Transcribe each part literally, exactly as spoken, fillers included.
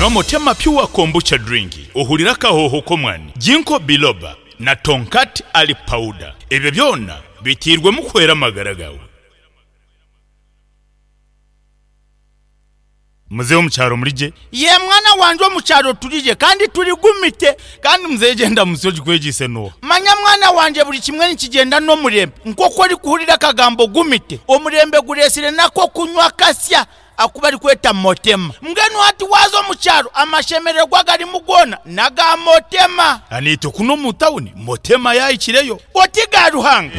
Nywa Motema Pure Kombucha Drink ohurire akahooho k'omwani, Ginkgo Biloba na Tongkat Ali Powder. Ebyo byona biteirwemu kuhwera amagara gaawe. Muzeeyi omu kyaro muri gye? Yee mwana wangye omu kyaro turi gye kandi turi gumite. Kandi muzeeyi gyenda musyo ogikwegyeise n'oha? Manya mwana wangye buri kimwe nikigyenda n'omurembe. Nk'oku orikuhurira akagambo gumite, omurembe gureetsire n'ak'okunywa kasya aku barikweta Motema. Mbwenu hati waaza omu kyaro amashemererwa agarimu goona n'aga Motema. Naitwe kunu omu tauni Motema yaahikireyo. Oti ga Ruhanga!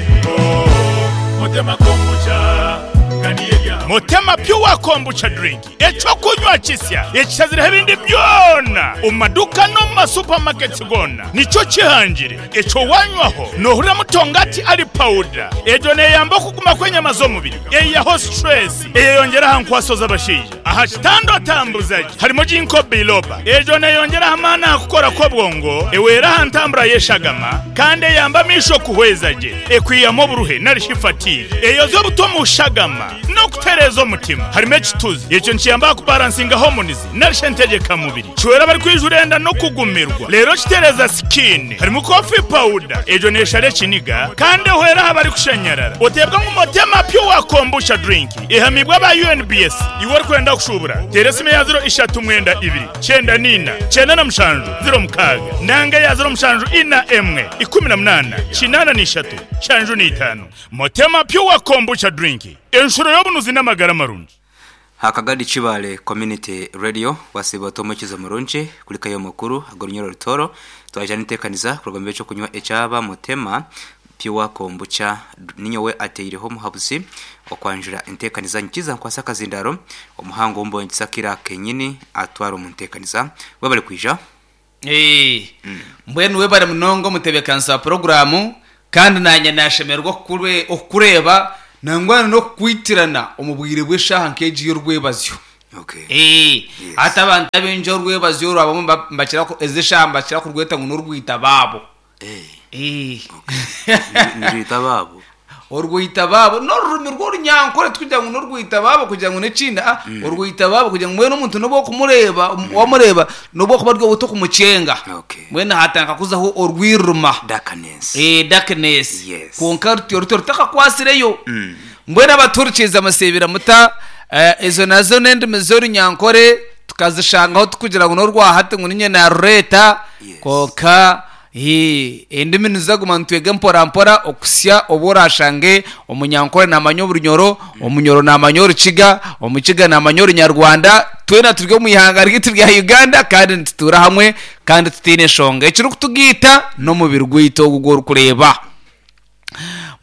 Motema Pure Kombucha Drink, eky'okunywa kisya ekishazireho ebindi byona omu maduuka n'omu ma supermarkets goona nikyo kihangire. Ekyo wanywaho nohuriramu tongati ali powder, egyo neyamba okuguma kw'enyama z'omubiri, eyihaho stress, eyeyongyera aha nkwaso z'abashaija. Aha kitanda otambuza gye harimu Ginkgo biloba, egyo neyongyera aha maani aha kukora kw'obwongo, ehwera aha ntambura y'eshagama kandi eyamba amaisho kuhweza gye, ekwihamu oburuhe nari shi fatigue, eyoza obutwa omu shagama n'okutereeza omutima. Harimu ekituzi, ekyo nikiyamba aha kubaransinga hormones nari shi entegyeka mubiri, kihwera abarikwijura enda n'okugumirwa reero kitereeza skin. Harimu coffee powder, egyo neeshara ekiniga kandi ehwera aha barikushanyarara. Oteebwa ngu Motema Pure Kombucha Drink ehamiibwe aba U N B S. Iwe orikwenda kushuubura, teera esimu eya ziro ishatu mwenda ibiri, kyenda n'ina, kyenda na mushanju, ziro mukaaga, nanga eya ziro mushanju ina emwe, ikumi na munaana, kinaana na ishatu, nshanju na itaano. Motema Pure Kombucha Drink, enshuro y'obunuzi n'amagara marungi. Hakagadi Kibale Community Radio wasiiba ota omwekizo murungi kulikayo amakuru ag'orunyoro Rutooro. Twaija n'enteekaniza kuruga omu by'ekyokunywa ekyaba Mutema Pure Kombucha. Ninyowe ateireho omuhabuzi okwanjura enteekaniza nyikiza nkwasa akazindaaro omuhango w'omubonekyesa Kira kenyini atwara omu nteekaniza. Webale kwija. Ee, mbwenu webare munonga omutebeekanisa wa puroguraamu, kandi naanye naashemererwa okukure- okukureeba nangwa n'okukwitirana omu bwire bw'eshaaha nk'egi y'orwebazyo. Okay. Ee, Yes. hati abantu abaingi orwebazyo oru abamwe mba- mbakira ku- ezi eshaaha mbakira kurweta ngu n'orwita baabo. Eh, Ee. nirwita baabo. Orwita baabo n'orurimi rw'orunyankore tikugira ngu n'orwita baabo kugira ngu n'ekindi ah, orwita baabo kugira ngu mbwenu omuntu n'obu okumureeba omu- wamureeba n'obu okuba ori otakumucenga. Okay. Mbwenu hatandika kuzaho orwirima. Darkness. Eh, darkness. Yes. Kwonka rutyo rutyo rutakakwasireyo. Mbwenu abatuhurikiize amusiibira muta eh, ezo nazo n'endimi z'orunyankore tukazishangaho tukugira ngu n'orwahati ngu ninye narureeta. Yes. Kwonka eh, endimi nizaguma nitwega mpora mpora okusya obu orashange omunyankore namanya oburunyoro, omunyoro namanya orukiga, omukiga namanya orunyarwanda. Twena turi omu ihanga ryaitu rya Uganda kandi nitutuura hamwe kandi tutaine nshonga. Ekirikutugaita n'omubiri gwaitu ogu ogworikureeba.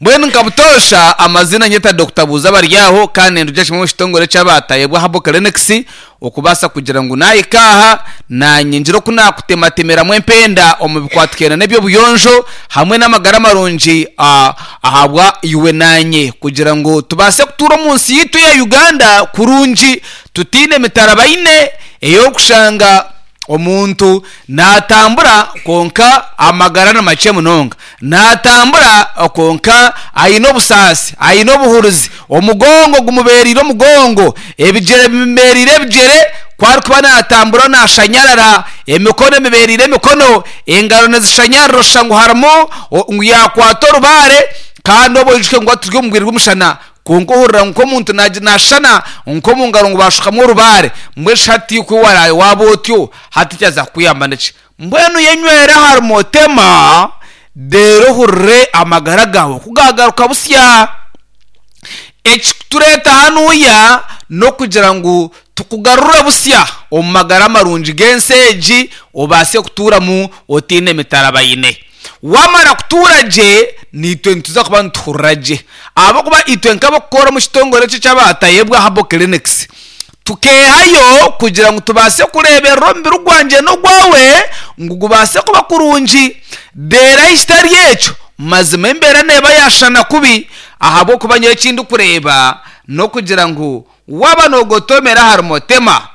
Mbwenu nka butoosha amazina nyeta Dokita Buuza Baryaho kandi nindugya kimwe omu kitongore ky'abatayebwa Herbal Clinics okubaasa kugira ngu naahika aha naanye ngire oku naakutematemeramu empenda omu bikwatikaine n'eby'obuyonjo hamwe n'amagara marungi ah, ahabwa iwe naanye kugira ngu tubaase kutuura omu nsi yaitu eya Uganda kurungi tutaine mitarabaine ey'okushanga omuntu naatambura kwonka amagara ni makye munonga, naatambura kwonka aine obusaasi, aine obuhurizi, omugongo gumubeereire omugongo, ebigyere bimubeereire ebigyere, ku arikuba naatambura naashanyarara, emikono emibeereire emikono, engaro nizishanyarara oshusha ngu harimu ngu yaakwata orubaare kandi obwo oijuke ngu turi omu bwire bw'omushana kwonka ohurira ngu nk'omuntu naagi naashushana nk'omu ngaro ngu baashukamu orubaare. Mbwenu shi hati ku waraabe waaba otyo hati kyaza kukuyamba niki? Mbwenu yenywere ahari Motema reero ohurire amagara gaawe ku gaagaruka busya. Ekikutureeta hanuya n'okugira ngu tukugarure busya omu magara marungi g'ensi egi obaase kutuuramu otaine mitarabaine. Waamara kutuura gye, naitwe nituza kuba nituhurira gye ahabw'okuba itwe nk'abarikukora omu kitongore eki eky'abatayebwa Herbal Clinics tukeehayo kugira ngu tubaase kureeberera omubiri gwangye n'ogwawe ngu gubaase kuba kurungi. Reero ahi kitari ekyo, mazima embeera neeba yaashushana kubi ahabw'okuba nyowe eki ndikureeba n'okugira ngu waaba noogotomera ahari Motema,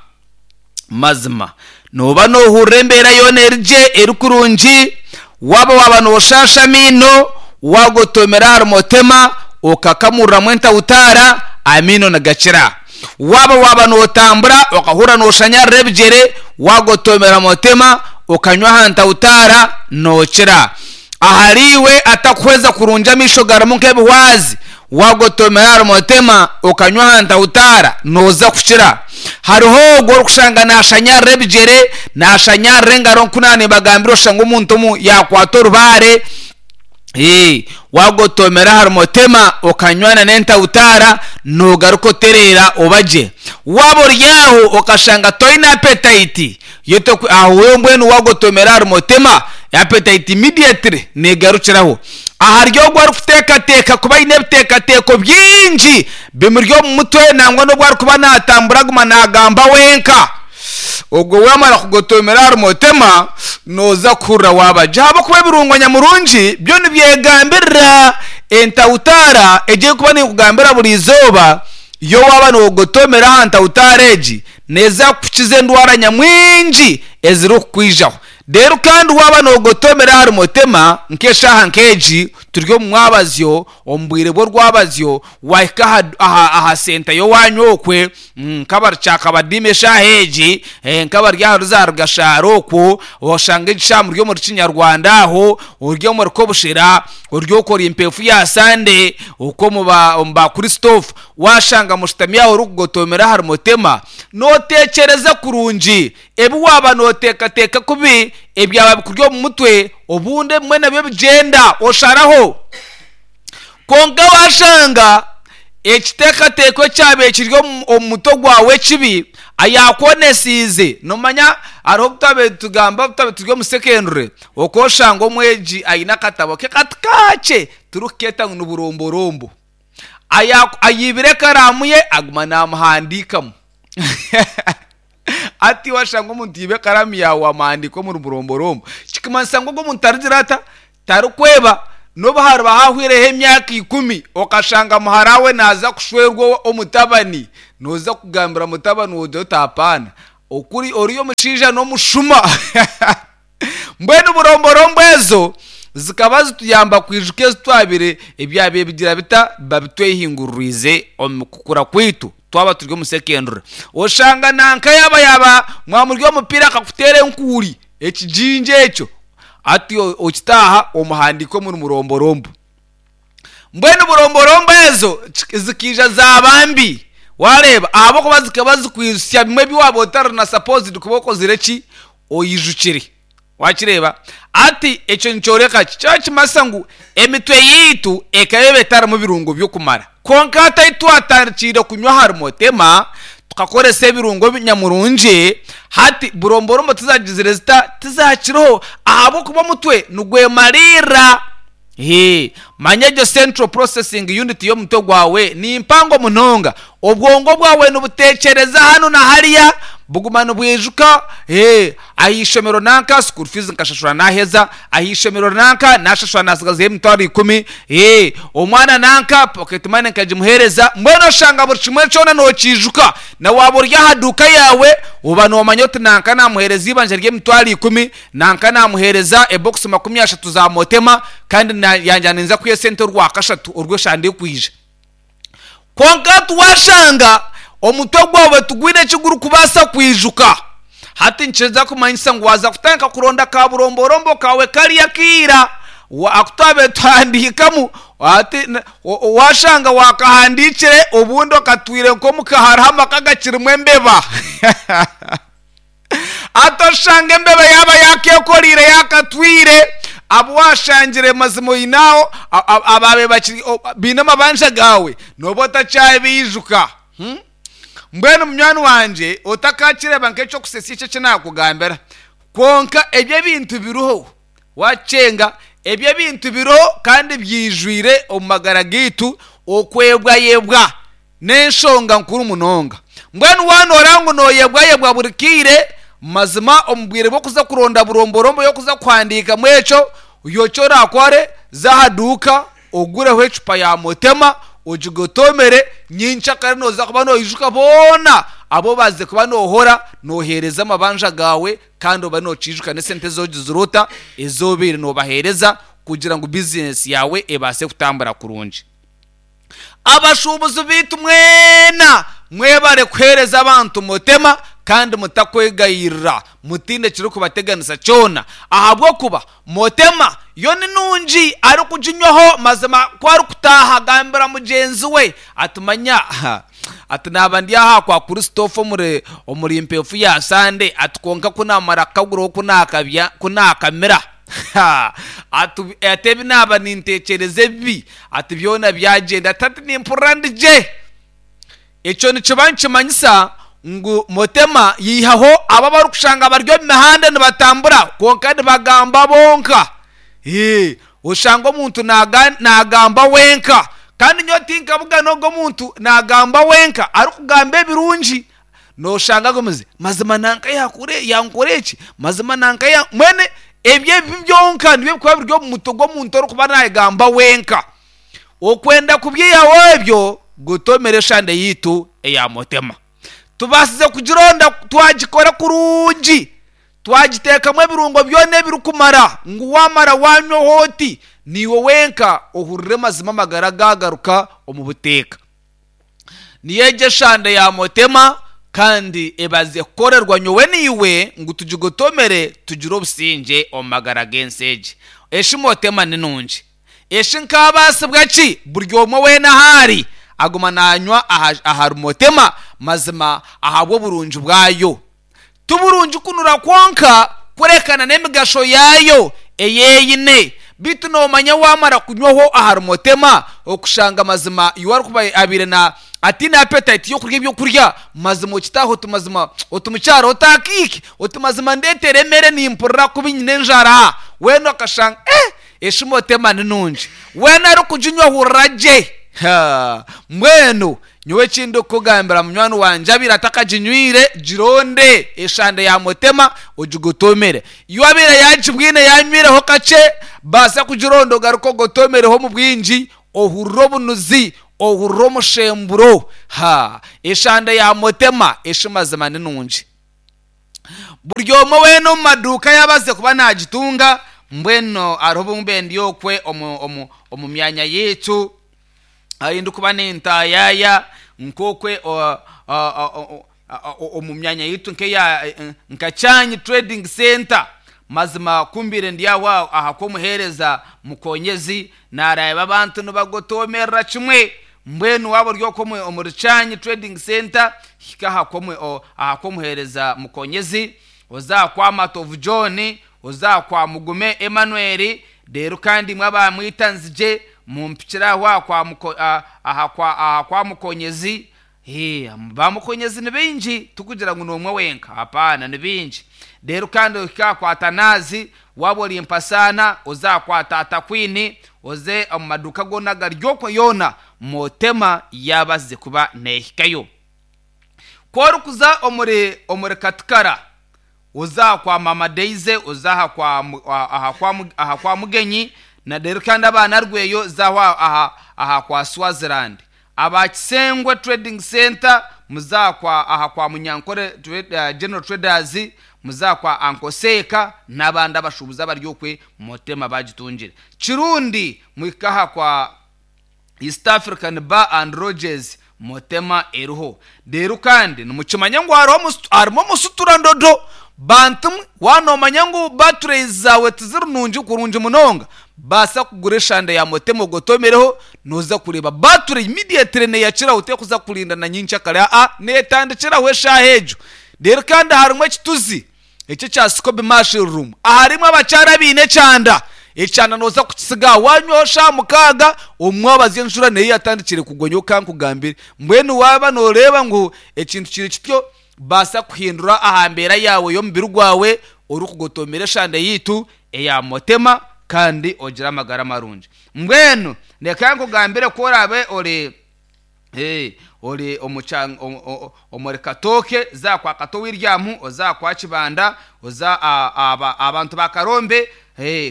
mazima nooba noohurira embeera yoona eri gye eri kurungi. Waaba waaba nooshaasha amaino, waagotomera ahari Motema okakamuriramu entahutaara, amaino nigakira. Waba waba notambura okahura noshanyarira ebijere, wagotomera motema okanywa aha ntawutara nokira. Ahariwe atakuhweza kurungi amaisho garimu nk'ebihwazi, wagotomera ahari motema okanywa aha ntawutara noza kukira. Hariho ogwo orikushanga nashanyarira ebijere, nashanyarira engaro, nkuna nibagambira oshanga omuntu omu yakwata orubaare. Eh, wagotomera ahari motema okanywana n'entawutara nogaruka otereera obagye. Waba ori aho okashanga toine appetite, yeto aho wewe mbwenu wagotomera ahari motema appetite immediately negarukiraho. Ahari ogwo arikuteekateeka kuba aine ebiteekateeko bingi bimuri omu mutwe, nangwa n'obu arikuba natambura aguma nagamba wenka, ogwo wamara kugotomera ahari motema noza kuhurira wabagye. Ahabw'okuba ebirungo nyamurungi byo nibyegambirira entawutara egi erikuba nekugambira buri izooba. Yo waba nogotomera aha ntawutara egi neza kukukiza endwara nyamwingi ezirikukwijaho. Rero kandi waba nogotomera ahari motema nk'eshaaha nk'egi turi omu mwabazyo, omu bwire bw'orwabazyo, wahika aha, aha, aha senta y'owanyu okwe, nk'abari Kyakabadiima eshaaha egi, eh, nk'abari aha Ruzaaro Gashaaro okwo, oshanga egi shaaha muri omuri Kinyarwanda aho, ori omuri Kobushera, ori okora empeefu ya Sande, okwo omu ba, omu ba Christophe, washanga mushutami aho orikugotomera ahari motema, noteekyereza kurungi. Ebi waba noteekateeka kubi ebyaba bikuri omu mutwe, obundi ebimwe nabyo bigyenda osharaho. Kwonka washanga ekiteekateeko ekyabaire kiri omu, omu mutwe gwawe ekibi ayakwonesiize. Nomanya hariho obu twabaire tugamba, obu twabaire turi omu secondary, okwoshanga omwegi aine akatabo ke kati kakye turikukeeta ngu ni buromborombo, Aya- ayibire ekaraamu ye aguma namuhandiikamu. Ati washanga omuntu yiba ekaraamu yawe wamuhandiika omuri buromborombo, kikumanyisa ngu ogwo omuntu tarigira ata, tarikweba. N'obu hariba hahwireho emyaka ikumi okashanga muhara we naza kushwerwa omutabani, noza kugambira mutabani oti otapaana, okuri ori omushaija n'omushuma. Mbwenu buromborombo ezo zikaba zituyamba kwijuka ezi twabire ebyabaire bigira bita babitwehingururiize omu kukura kwaitu twaba turi omu secondary. Oshanga nanka yaba yaba mwamuri omupiira akakuteera enkuuri ekijingi ekyo, ati okitaaha omuhandiika omuri muromborombo. Mbwenu buromborombo ezo zikiija zaaba mbi, wareeba, ahabw'okuba zikaba zikwijutsya bimwe ebi waaba otari na supposed kuba okozire ki, oyijukire. Wakireeba? Ati ekyo nikyoreka ki? Kyo kimanyisa ngu emitwe yaitu ekaba eba etarimu birungo by'okumara. Kwonka hati ahu twatandikiire kunywa ahari motema tukakoresa ebirungo nyamurungi, hati buromborombo tizagizire zita, tizakiriho, ahabw'okuba omutwe nigwemariirira. Hee, manya egyo central processing unit y'omutwe gwawe ni mpango munonga. Obwongo bwawe nibuteekyereza hanu na hariya, buguma nibwijuka. Hee, aha ishomero nanka school fees nkashashura naheza, aha ishomero nanka nashashura nasigazayo emitwaro ikumi, hee, omwana nanka pocket money nkagimuheereza. Mbwenu oshanga buri kimwe kyona nokiijuka. Na waaba ori aha duuka yaawe oba nomanya oti nanka namuheereza eibanja ry'emitwaro ikumi, nanka namuheereza ebokisi makumi ashatu za motema, kandi yangye ninza kwiha esente orwakashatu orw'eshande ekwija. Kwonka tiwashanga omutwe gwawe tigwine eki gurikubaasa kwijuka. Hati nikiza kumanyisa ngu waaza kutandika kuronda ka buromborombo kawe kariya akaira aku twabaire tuhandiikamu, hati washanga wakahandiikire obundi okatwire nk'omuka hariho amaka gakirimu embeba. Hati oshanga embeba yaaba yakeekoriire yakatwire, abu washangire mazima oine aho ababaire bakiri baine amabanja gaawe nooba otakyabaijuka. Hmm? Mbwenu munywani wangye otakakireeba nk'ekyokusesya ekyo eki naakugambira, kwonka ebyo ebintu biriho, wakyenga ebyo ebintu biriho kandi byijwire omu magara gaitu. Okwebwayebwa n'enshonga nkuru munonga. Mbwenu waanoora ngu nooyebwayebwa buri kaire, mazima omu bwire bw'okuza kuronda buromborombo y'okuza kuhandiikamu ekyo, eki orakore, za aha duuka ogureho ecupa ya motema ogigotomere, nyencakare nooza kuba noijuka boona abu obazize kuba noohora nooheereza amabanja gaawe, kandi oba nookiijuka n'esente ezi ogizire ota ezi obaire noobaheereza kugira ngu bizinesi yaawe ebaase kutambura kurungi. Abashuubuzi baitu mwena Mwebare kuhereza abantu mutema kandi mutakwegayirira, mutinde kiri kubateganisa kyona, ahabw'okuba mutema yo ni nungi arikuginywaho mazima ku arikutaaha agambira mugyenzi we atumanya ati naba ndi aha kwa Christophe omuri omuri mpefu ya Sande, ati konka kunamara kukaguraho kunakabya kunakamira ati ebi naba nintekyereza ebibi, ati byona byagyenda, ati ati nimpurira ndigye. Ekyo nikiba nikimanyisa ngu mutema yihaho abo abarikushanga bari omu mihanda nibatambura konka nibagamba bonka. Ee, oshanga omuntu nagamba wenka, kandi nyowe tinkabuga n'ogwo omuntu nagamba wenka arikugamba ebirungi, noshanga agumize mazima nanka yakure yankora eki, mazima nanka ya mwene ebyo ebibi byonka nibyo bikuba biri omu mutwe gw'omuntu orikuba nayegamba wenka. Okwenda kubyihaho ebyo gutomera eshande yitu eya mutema. Tubasize kugironda twagikora kurungi, twagiteekamu ebirungo byona ebirikumara ngu wamara wanywaho oti niiwe wenka ohurire mazima amagara gagaruka omu buteeka. Niyo egyo eshande ya mutema kandi ebaze kukorerwa nyowe niiwe ngu tugigotomere tugire obusingye omu magara g'ensi egi. Eshi mutema ni nungi, eshi nkabaasibwa ki buri omwe weena ahari aguma nanywa ahari mutema mazima ahabw'oburungi bwayo. Tuburungi kunura kwonka kurekana n'emigasho yayo eyeyine, bitu nomanya wamara kunywaho ahari mutema okushanga mazima iwe arikuba abire na atine appetite yokurya ebyokurya, mazima okitaho oti mazima oti mukyaro otakiike oti mazima ndeetere emere nimpurira kubi nyine enjara, weena okashanga eh eshi mutema ni nungi, weena arikuginywa ahurira gye. Mbwenu nyowe ekindi okukugambira munywani wangye abire atakaginywire gironde eshande ya mutema ogigotomere. Iwe abire yagibwine yanywireho kakye, baasa kugironda ogaruke ogotomereho omu bwingi, ohurire obunuzi, ohurire omushemburo. Ha, eshande ya mutema eshi mazima ni nungi. Buri omwe weena omu maduuka yabaze kuba nagitunga, mbwenu hariho obumbe ndi okwe omu, omu, omu myanya yaitu ahi ndikuba nintayaya nk'okwe omu myanya yaitu nkeya nka Kyanyi Trading Center, mazima kumbire ndi aho aha kw'omuheereza mukonyezi nareeba abantu nibagotomerera kimwe. Mbwenu waaba ori okwo omuri Kyanyi Trading Center hika aha kw'omuheereza mukonyezi, oza kwa Matovu John, oza kwa Mugume Emmanuel, reero kandi imwe abamwita nzigye mumpikire aho aha kwa kwa mukonyezi. Bamukonyezi ni bingi, tukugira ngu n'omwe wenka, hapana ni bingi. Reero kandi ohika kwa Tanazi, waaba ori Mpasaana oza kwa Tata Queen, oze omu maduuka goona gari okwo yoona mutema yabazize kuba neehikayo. Ku orikuza omuri omuri Katikara oza kwa Mama Daisy, oza aha kwa aha kwa Mugenyi, na reero kandi abaana Rweyo zaho aha aha kwa Swaziland. Aba Kisengwe Trading Center muza kwa aha kwa Munyankore General Traders, muza kwa Ankoseka n'abandi abashubuzi abari okwe mutema bagitungire. Kirundi mwikaha kwa East African Bar and Lodges mutema eriho. Reero kandi nimukimanya ngu harimu omusuturandodo, bantu wanomanya ngu batteries zawe tiziri nungi kurungi munonga, baasa kugura eshande ya mutema ogotomereho, noza kureeba battery immediately neyakiraho, tekuza kurinda na nyenkyakare, aa netandikiraho eshaaha egyo. Reero kandi harimu ekituzi ekyo ekya Scoby Mushroom, aharimu abakyara abaine ekyanda, ekyanda noza kukisiga wanywaho shaaha mukaaga, omwabazi enjura neyo yatandikire kugwa nyowe kankugambire. Mbwenu waaba noreeba ngu ekintu kiri kityo, baasa kuhindura aha mbeera yawe y'omubiri gwawe orikugotomera eshande yitu eya mutema kandi ogire amagara marungi. Mbwenu reka nkugambire ku oraabe ori ori omuri Katooke, za kwa Kato William, oza kwa Kibanda, oza abantu ba Karombe,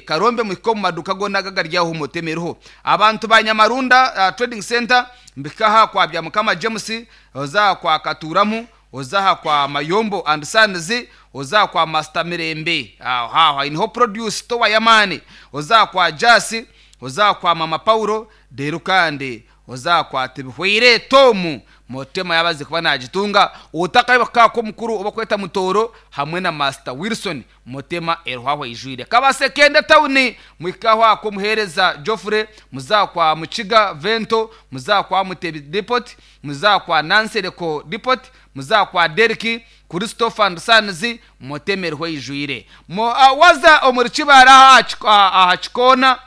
Karombe muhike omu maduuka goona agari aho mutema eriho. Abantu ba Nyamarunda Trading Center mbikaha kwa Byamukama James, oza kwa Katuramu, oza aha kwa Mayombo and Sons, oza kwa Master Mirembe, aho aho niho produce store y'amaani, oza kwa Jasi, oza kwa Mama Paulo, reero kandi Ozakwa tibihweire Tomu Motema yabaze kuba nagitunga. Otakaiba kako mukuru obakweta Mutoro hamwe na Master Wilson, Motema eruhwaho ijwire. Kabasekende tawuni, mwikaho ako muhereza Joffrey, muzakwa Mukiga Vento, muzakwa Mutebi Depot, muzakwa Nansereko Depot, muzakwa Deriki Christopher and Sons, Motema eruhwa ijwire. Mo uh, waza omuri Kibara aha kikona,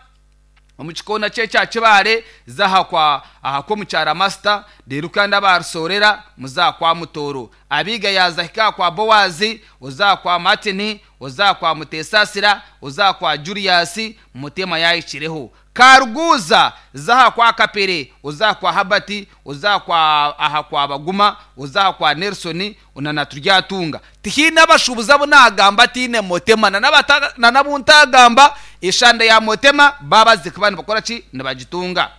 omu kikona kye kya Kibare, zaha kwa aha ko mukyara Master rero kandi abarusorera muzakwa Mutoro abiga yazahika kwa Bowazi, uzakwa Martin, uzakwa Mutesasira, uzakwa Julius, Mutema yayikireho. Karuguza zaha kwa Kapere, uzakwa Habati, uzakwa aha kwa Baguma, uzakwa Nelson unana turyatunga. Tihina abashubuza bo nagamba tine Motema na nabuntagamba ishanda ya Motema babazi kubana bakora ki nibagitunga.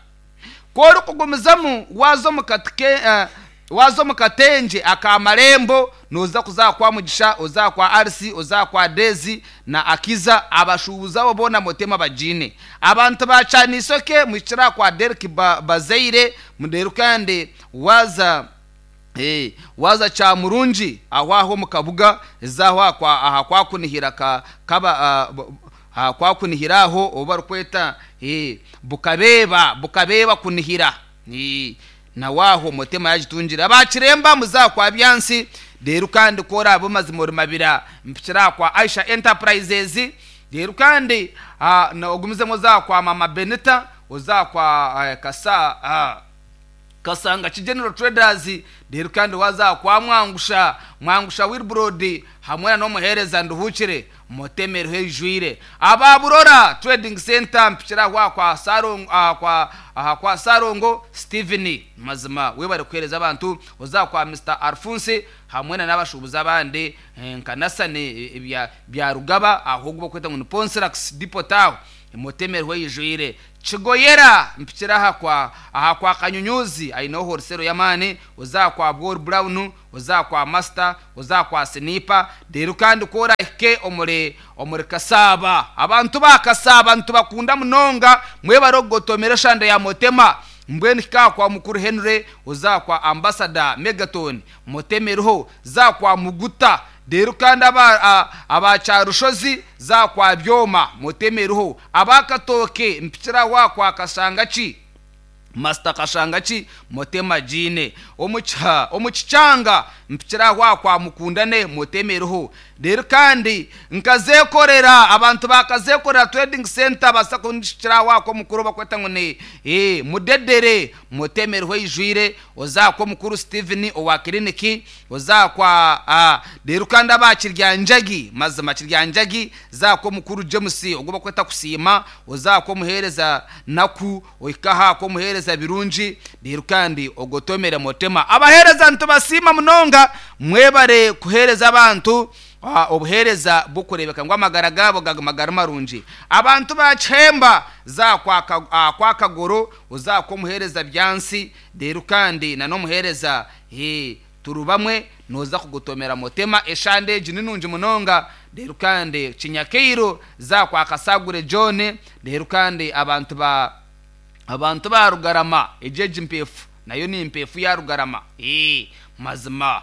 Koro kugumizamu wazo mukatike uh, wazo mukatenje akamarembo noza kuzakwa Mugisha, uzakwa Arsi, uzakwa Dezi na Akiza, abashubuza bo bona Motema bajine. Abantu bacanisoke mwicira kwa Derek ba, Bazeire muderu kandi waza eh waza cha Murungi aho aho mukabuga zaho kwa aha kwa kunihira ka kaba uh, ha kwa kunihiraho obarukweta eh bukabeba bukabeba kunihira eh na waho Motema yajitungira. Abakiremba muzakwa Byansi rero kandi kora abo mazimuri mabira mpikira kwa Aisha Enterprises rero kandi na ogumize muzakwa Mama Benita, uzakwa kasa uh, Kasanga General Traders rero kandi waza kwa Mwangusha Mwangusha Wilbrod hamwe no muhereza nduhukire Motema hejwire. Ababurora Trading Center mpikira kwa kwa Sarongo kwa aha kwa Sarongo Steven mazima we bari kwereza abantu, uzakwa Mister Alphonse hamwe n'abashubuza abandi nkanasane bya bya Rugaba ahubwo kweta ngo Ponsrax Depot aho Motema hejwire. Chigoyera mpikira aha kwa aha kwa Kanyunyuzi aino horsero yamani, uzakwa Bor Brown, uzakwa Master, uzakwa Sniper rero kandi kora ke omure omure Kasaba. Abantu bakasaba abantu bakunda munonga mwe barogotomera shanda ya Motema. Mbweni ka kwa mukuru Henry, uzakwa Ambassador Megaton Motemeruho, zakwa Muguta rero kandi aba abacarushozi zakwa Byoma Motemeruho, abakatoke mpikira wa kwa Kashangachi Master Kashangachi Motema jine omucha omuchanga mpikira wa kwa Mukundane Motemeruho. Rero kandi nkazekorera abantu bakazekorera Trading Center basakundishira wa kwa mukuru bakweta ngo ni eh mudedere Motemeruho ijwire, ozakwa mukuru Steven owa clinic, ozakwa rero kandi abakirya njagi mazima kirya njagi zakwa mukuru James ogo bakweta kusima, ozakwa muhereza naku oikaha ko muhereza birungi rero kandi ogotomera Motema. Abahereza ntubasima munonga mwebare kuhereza abantu obuhereza bukurebeka ngo amagara gabo gamagara marungi. Abantu bacemba za kwa kwa Kagoro, uzakwa muhereza Byansi rero kandi na no muhereza he turubamwe noza kugutomera Motema eshande jinunje munonga rero kandi Kinyakeiro za kwa Kasagure John rero kandi abantu ba abantu ba Rugarama ejeje impefu nayo ni impefu ya Rugarama eh mazima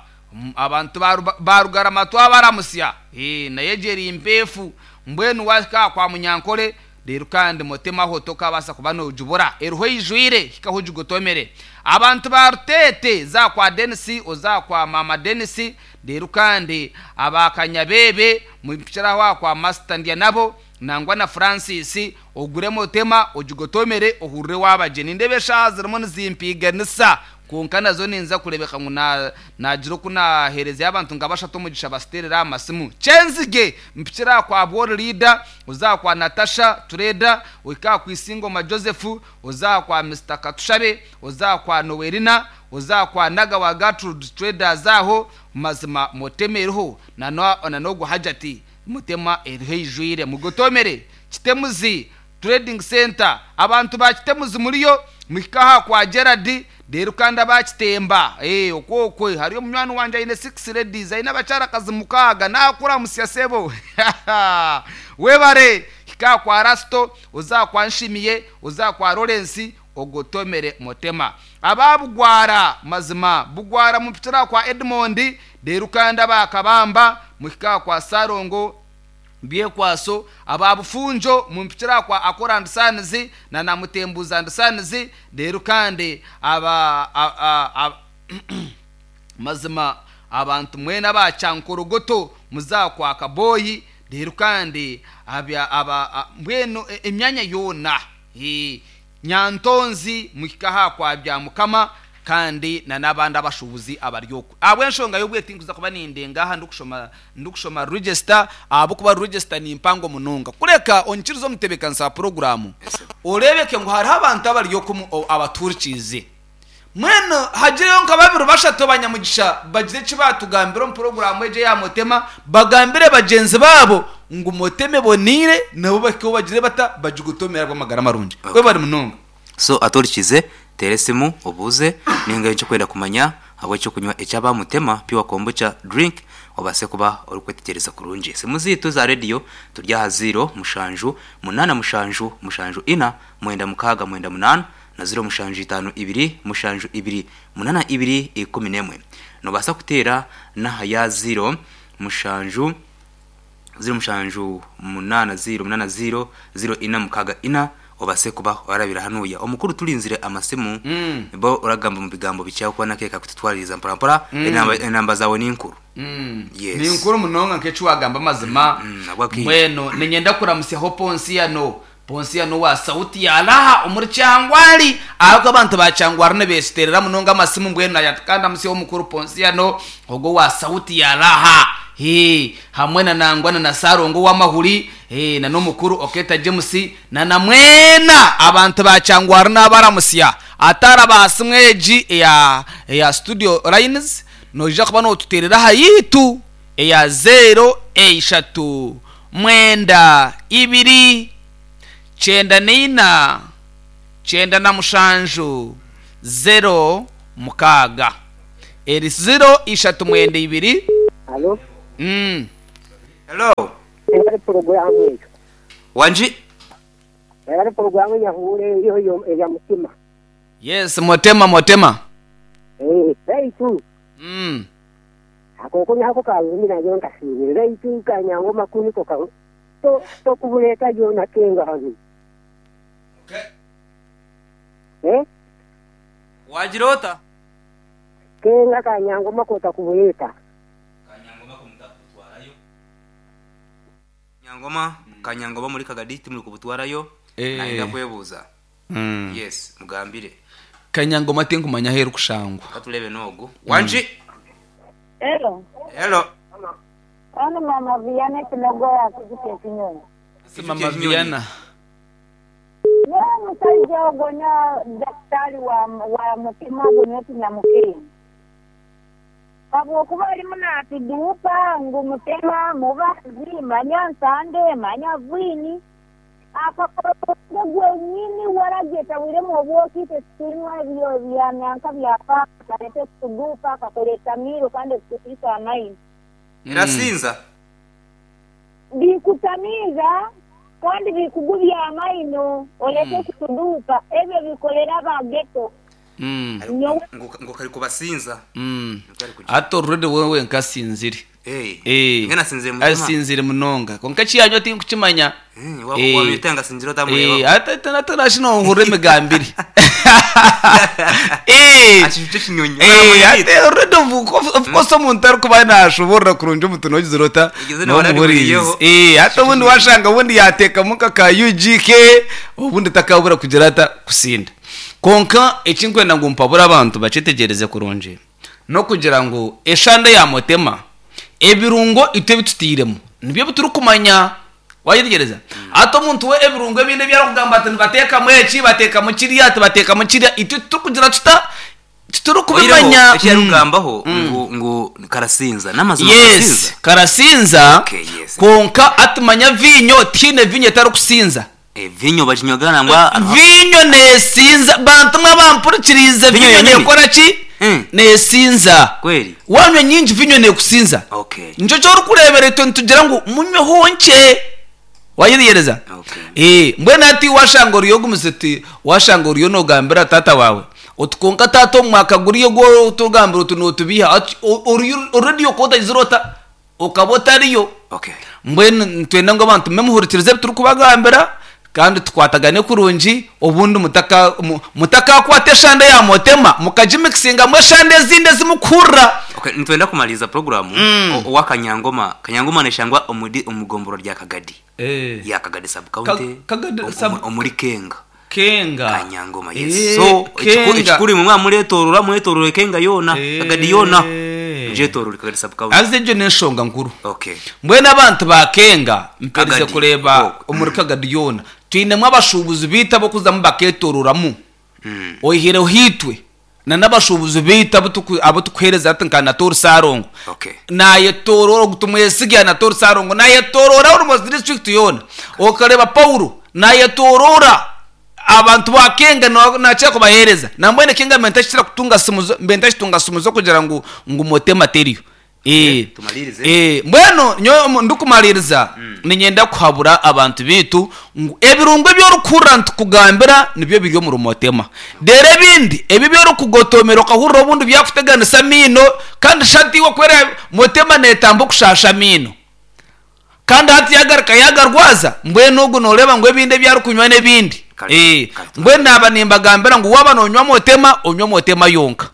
abantu ba Rugarama twabaramusya eh nayegeri impefu mbwenu waka kwa Munyankore rero kandi Motema ho tokabasa kuba nojubura eruho ijwire hikaho jugotomere. Abantu ba Rutete za kwa Dennis, oza kwa Mama Dennis rero kandi abakanyabebe mupikira wa kwa Master Ndia nabo nangwa na Francis ogure Motema ojugotomere ohurre wabageni ndebe shazirimo nzimpiganisa konka nazo ninza kurebeka ngo na nagira kuna hereza abantu ngabasha tomugisha basterera amasimu. Chenzige mpikira kwa Bor Leader, uzakwa Natasha Trader, wika ku Isingoma Joseph, uzakwa Mister Katushabe, uzakwa Noelina, uzakwa Naga wa Gertrude Trader zaho mazima Motemeruho na na nogo hajati Motema erhejwire mugotomere. Kitemuzi Trading Center abantu ba Kitemuzi muriyo mwikaha kwa Gerard rero kandi abakitemba eh okokwe hariyo munywani wanje aine six ladies aine abacara kazi mukaga nakura musyasebo webare hika kwa Rasto, uzakwa Nshimiye, uzakwa Lawrence ogotomere motema. Ababugwara mazima bugwara mupitira kwa Edmond derukanda bakabamba muhika kwa Sarongo byekwaso. Ababufunjo mumpitira kwa akora ndisanizi na namutembuza ndisanizi derukande aba a, a, a, mazima abantu mwena bacankorogoto muzakwa kaboyi derukande abya aba mbweno emyanya yona e, nyantonzi muhika kwa bya mukama kandi na nabandi abashubuzi abaryoko abwe nshonga yobwetinguza kuba nindenga aha ndukushoma ndukushoma register abo kuba register ni impango munonga kureka onkirizo mutebekansa program orebeke ngo hari abantu abaryoko abaturkize mweno hagireyo nka babiri bashatu abanyamugisha bagire kibatugambira mu program eje ya motema bagambire bagenzi babo ngo moteme bonire nabo bakiko bagire bata bajugutomera rw'amagara marungi we bari munonga. So aturkize teresimu obuze ninga icyo kwenda kumanya abo cyo kunywa ecyaba mutema pure kombucha drink obase kuba uri kwetegereza kurungi. Simu zitu za radio turya zero mushanju munana mushanju mushanju ina mwenda mukaga mwenda munana na zero mushanju itanu ibiri mushanju ibiri munana ibiri ikumi nemwe. Nobasa kutera na haya zero mushanju zero mushanju munana zero munana zero zero ina mukaga ina obase kuba warabira hanuya omukuru tulinzire amasimu mm. bo uragamba mu bigambo bicyaho kuba nakeka kututwaririza mpora mpora mm. enamba enamba zawe ni inkuru mm. Yes. Ni inkuru munonga nkecu wagamba mazima mweno mm. ninyenda kuramusya ho Ponsiano Ponsiano wa sauti ya laha umuri cyangwari ahubwo abantu ba cyangwari ne besiterera munonga amasimu mbweno kandi amusya omukuru Ponsiano ogo wa sauti ya laha he hamwe na nangwana na Sarongo w'amahuri he na nomukuru Oketa James na namwena abantu bacangwara n'abaramusya atara basimweji ya ya studio lines noja kuba no tuterera hayitu ya zero eshatu mwenda ibiri chenda nina chenda na mushanju zero mukaga eri zero ishatu mwenda ibiri. Hello. Mm. Hello. Era programu eyo. Wanji? Era programu ya hure iyo yo ya mutima. Yes, motema motema. Eh, baitu. Mm. Akoko nyako ka mina yo nkasire. Baitu kanyango makuni ko ka. To to kubuleta yo na kenga hazi. Okay. Eh? Wajirota? Kenga kanyango makota kubuleta. Nyangoma kanyangoma muri kagaditi muri kubutwarayo eh. Naenda kwebuza. Mm. Yes, mugambire. Kanyangoma tinkumanya heru kushangwa. Katulebe nogu. Wanji. Mm. Hello. Hello. Ano mama Viana tunagoya kuzikia kinyonyi. Mama Viana. Ya msaidia ogonya daktari wa wa mutima gonyo tunamukiri. Abo kuba ari munatudupa ngo mutema mubazi manya nsande manya vwini akakoro gwenyini warageta wiremo obwokite tunywa byo byananka byapa karete tudupa kakoleta miro kandi kutusa amaini irasinza bikutamiza kandi bikugubya amaino olete kutudupa ebyo bikolera bageto. Mm. Ngo kari kubasinza. Mm. Ato rwede wewe nkasinzire. Eh. Eh. Ngena sinzire mutima. Asinzire munonga. Konka chiyanyo ti nkuchimanya. Eh, wa wa mitanga sinzire otamureba. Eh, ata ata nashino ngure migambiri. Eh. Achicho chinyonyo. Eh, ate rwede of course omuntu ari kuba nashobora kurunja omuntu nogizirota. No muburize. Eh, ata ubundi washanga ubundi yateka muka ka U G K ubundi takabura kugira ata kusinda. Konka ekinkwenda ngo mpabura abantu bacitegereze kurunje no kugira ngo eshanda ya motema ebirungo ite bitutiremo nibyo bituri kumanya wayitegereza ato muntu we ebirungo ebinde byarokugamba ati bateka mweki bateka mu kiriya bateka mu kiriya ite tukugira tuta tuturi kubimanya ekiyarugambaho ngo ngo karasinza namazima. Yes, karasinza. Okay, yes. Konka atumanya vinyo tine vinyo tarukusinza. E vinyo bajinyogana ngwa vinyo nesinza bantu mwabampurikirize vinyo nekora ki mm. nesinza kweli wanywa nyingi vinyo nekusinza. Okay, njo cyo rukurebere twe tugira ngo munywe honke Wayiriyereza? Okay. Eh, mbwenu ati washanga oriyo ogumize ti washanga oriyo nogambira tata wawe oti konka tata omu mwaka guriyo gwo tugambira oti notubiha ati o- oriyo already okotagizire ota okaba otariyo. Okay. Mbwenu nitwenda ngu abantu memuhurikirize ebi turikubagambira kandi tukwatagane kurungi, obundi mutaka mu- mutakakwata eshande ya motema mukagimikisingamu eshande ezindi ezimukuhurira. Okay, nitwenda kumaliriza programu. Mm. O- owa Kanyangoma. Kanyangoma neshangwa omudi omugomboro rya Kagadi. Ya Kagadi sub county. Ka- Kagadi Omu- sub- omuri Kenga. Kenga. Kanyangoma, yes. Eh, So ekiku- Kenga. ekikuru imwe mwamuretorora mwetorore Kenga yona, Eh. Kagadi yona. Njetorore Kagadi sub county. Aze egyo n'enshonga nkuru. Okay. Mbwenu abantu ba Kenga mperize Kagadi. kureba Oh. omuri Kagadi yoona twinemu abashuubuzi biitu abokuzamu baketorораmu, Mm. oihireho itwe na n'abashuubuzi biitu abu tuku- abu tukuheereza ati nka Natori Sarongo, Okay. nayetorora ogu tumwesiga Natori Sarongo nayetorora almost district yoona. Okareba Paulo nayetorora abantu ba Kenga na- nakira kubaheereza nambwene Kenga mbe ntakikira kutunga simu zo- mbe ntakitunga simu zo kugira ngu ngu motema teriyo. Eh, Tumalirize. eh, mbwenu nyo mu- ndikumaliriza ninyenda kuhabura abantu bitu ngu ebirungo ebyorukuhurira nitukugambira nibyo biri omu rumotema, rero ebindi ebi byorukugotomera okahurira obundi byakuteganisa amiino, kandi shati iwe kwera motema netamba okushasha amiino kandi hati yagaruka yagarwaza. Mbwenu ogu noreeba ngu ebindi ebyarikunywa n'ebindi. Kare, Eh, kare. Mbwenu naba nimbagambira ngu waba nonywa motema, onywe motema yonka,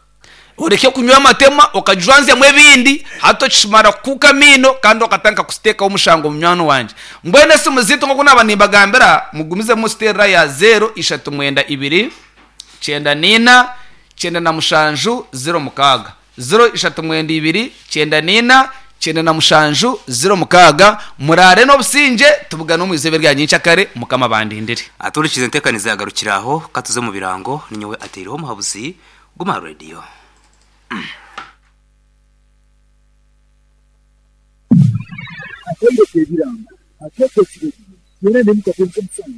oreke kunywa amatema okajwanzyamu ebindi hati okishimara kukuuka amiino kandi okatanka kusiteekaho omushango munywani wangye. Mbwenu esimu ziitu nkoku naba nimbagambira, mugumizemu siterera ya zero ishatu mwenda ibiri kyenda niina kyenda na mushanju zero mukaaga, zero ishatu mwenda ibiri kyenda niina kyenda na mushanju zero mukaaga. Murare n'obusinge, tubugane omu izooba rya nyenkyakare. Mukama bandindire. Aturikize entekaniza yagarukira aho, katuze mu birango. Ninyowe ateireho omuhabuzi guma radio. Akende kebirango akeke kirezi yera nemukatenze musango.